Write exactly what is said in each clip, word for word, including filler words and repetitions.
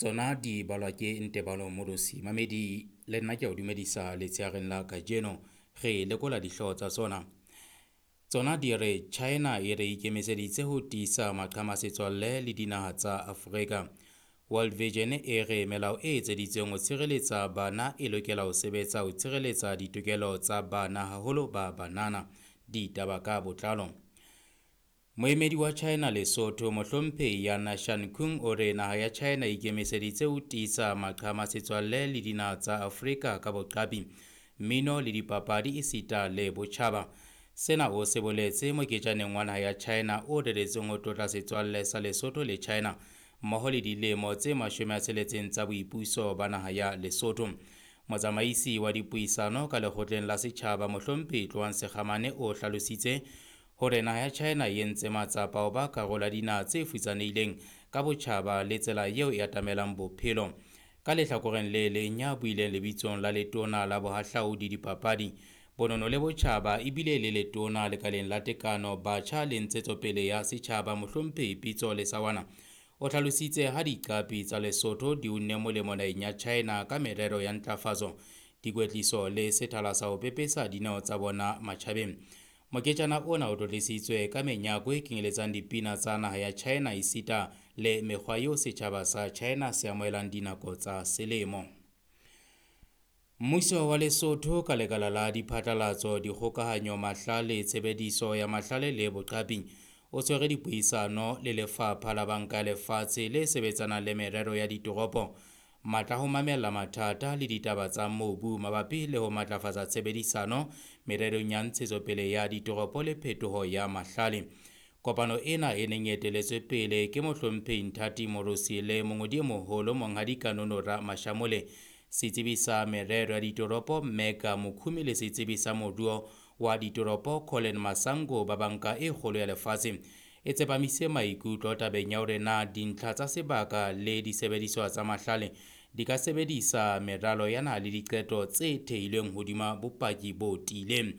Tsona di balwa ke Ntebalo Modosi. Mamedi le nna ke a o dumedisa letsheareng la kajeno. Re lekola dihlooho tsa tsona. Tsona di re China e re ikemiseditse ho tiisa maqhama setswalle le dinaha tsa Afrika. World Vision e re melao e etseditsweng ho tshireletsa bana e lokela ho sebetsa ho tshireletsa ditokelo tsa bana haholo ba banana. Ditaba ka botlalo. Moemedi wa China Lesotho Mohlomphehi Yana Shankung o re naha ya China e ikemiseditse ho tiisa maqhama setswalle le dinaha tsa Afrika ka boqapi, mmino le dipapadi esita le botjhaba. Sena o se boletse moketjaneng wa naha ya China o reretsweng ho tlotla setswalle sa Lesotho le China mmoho le dilemo tse mashome a tsheletseng tsa boipuso ba naha ya Lesotho. Motsamaisi wa dipuisano ka lekgotleng la setjhaba Mohlomphehi Tlohang Sekgamane o hlalositse hore naha ya China e entse matsapa ho ba karolo ya dinaha tse futsanehileng ka botjhaba le tsela eo e atamelang bophelo. Ka lehlakoreng le leng ya buileng lebitsong la letona la bohahlaudi dipapadi, bonono le botjhaba ebile le letona lekaleng la tekano, batjha le ntshetsopele ya setjhaba Mohlomphehi Pitso Lesawana o hlalositse ha diqapi tsa Lesotho di unne molemo naheng ya China ka merero ya ntlafatso, dikwetliso le sethala sa ho pepesa dineo tsa bona matjhabeng. Moketjana ona o tlotlisitswe ka menyako e kenyeletsang dipina tsa naha ya China esita le mekgwa eo setjhaba sa China se amohelang dinako tsa selemo. Mmuso wa Lesotho ka lekala la diphatlalatso, dikgokahanyo, mahlale, tshebediso ya mahlale le boqapi o tshwere dipuisano le lefapha la Banka ya Lefatshe le sebetsanang le merero ya ditoropo, matla ho mamella mathata le ditaba tsa mobu mabapi le ho matlafatsa tshebedisano mererong ya ntshetsopele ya ditoropo le phetoho ya mahlale. Kopano ena e neng e eteletswe pele ke Mohlomphehi Nthati Moorosi le mongodi e moholo Monghadi Kanono Mashamole, setsebi sa merero ya ditoropo Mega Mokhumi le setsebi sa moruo wa ditoropo Colin Masango ba Banka e Kgolo ya Lefatshe e tsepamise maikutlo tabeng ya hore na dintlha tsa sebaka le disebediswa tsa mahlale di ka sebedisa meralo ya naha le diqeto tse thehilweng hodima bopaki bo tiileng.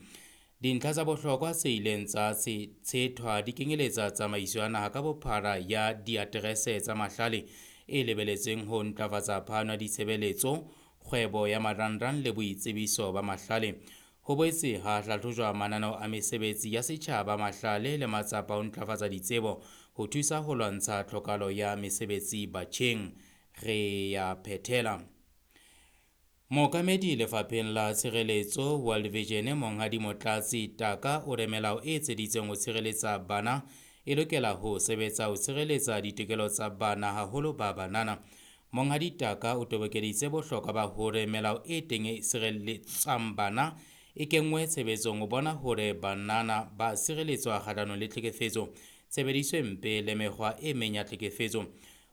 Dintlha tsa bohlokwa tse ileng tsa tshethwa di kenyeletsa tsamaiso ya naha ka bophara ya diaterese tsa mahlale e lebeletsweng ho ntlafatsa phano ya ditshebeletso, kgwebo ya marangrang le boitsebiso ba mahlale. Ho boetse ha hlahlojwa mananeo a mesebetsi ya setjhaba mahlale le matsapa ho ntlafatsa ditsebo ho thusa ho lwantsha tlhokahalo ya mesebetsi batjheng. Re ya phethela. Mookamedi lefapheng la tshireletso World Vision Monghadi Motlatsi Taka o re melao e etseditsweng ho tshireletsa bana e lokela ho sebetsa ho tshireletsa ditokelo tsa bana haholo ba banana. Monghadi Taka o tobokeditse bohlokwa ba hore melao e teng e sireletsang bana e kenngwe tshebetsong ho bona hore banana ba sireletswa kgahlanong le tlhekefetso, tshebediso e mpe le mekgwa e meng ya tlhekefetso.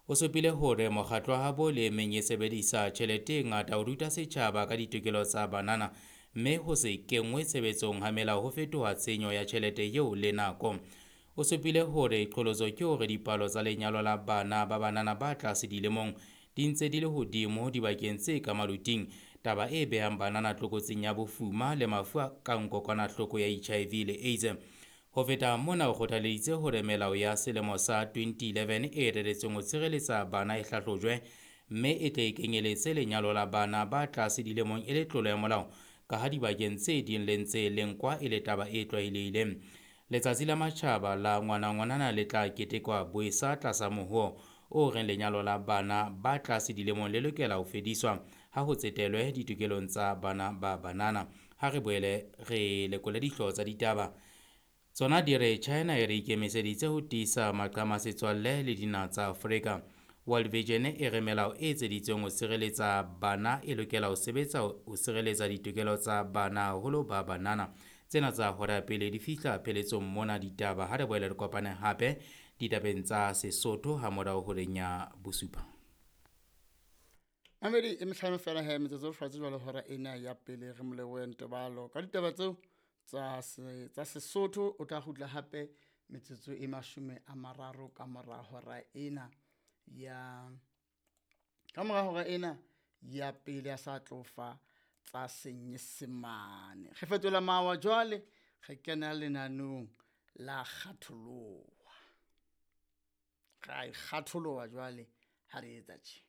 O supile hore mokgatlo wa habo le e meng e sebedisa tjhelete e ngata ho ruta setjhaba ka ditokelo tsa banana, mme ho se kenngwe tshebetsong ha melao ho fetoha tshenyo ya tjhelete eo le nako. O supile hore qholotso ke hore dipalo tsa lenyalo la bana ba banana ba tlase dilemong di ntse di le hodimo dibakeng tse ka maluting, taba e behang banana tlokotsing ya bofuma le mafu a kang kokwanahloko ya H I V le AIDS. Ho feta mona o kgothaleditse hore melao ya selemo sa twenty eleven e reretsweng ho tshireletsa bana e hlahlojwe mme e tle e kenyeletse lenyalo la bana ba tlase dilemong e le tlolo ya molao ka ha dibakeng tse ding le ntse le nkwa e le taba e tlwaelehileng. Letsatsi la matjhaba la ngwana ngwanana le tla ketekwa Boesa tlasa mohoo o reng lenyalo la bana ba tlase dilemong le lokela ho fediswa ha ho tsetelwe ditokelong tsa bana ba banana. Ha re boele re lekole dihlooho tsa ditaba. Tsona di re China e re ikemiseditse ho tiisa maqhama setswalle le dinaha tsa Afrika. World Vision e re melao e etseditsweng ho sireletsa bana e lokela ho sebetsa ho sireletsa ditokelo tsa bana haholo ba banana. Tsena tsa hora pele di fihla pheletsong mona ditaba. Ha re boele re kopane hape ditabeng tsa Sesotho ha morao horeng ya bosupa. Mamedi e mehlano fela he metsotso e fatshe jwale hora ena ya pele re molebohe Ntebalo ka ditaba tseo tsa se, tsa Sesotho. O tla kgutla hape metsotso e mashome a mararo ka mora hora ena ya, ka mora hora ena ya pele ya sa tlo fa tsa Senyesemane. Re fetola mawa jwale re kena lenanong la kgatholoha. Ra ikgatholoha jwale ha re etsa tje.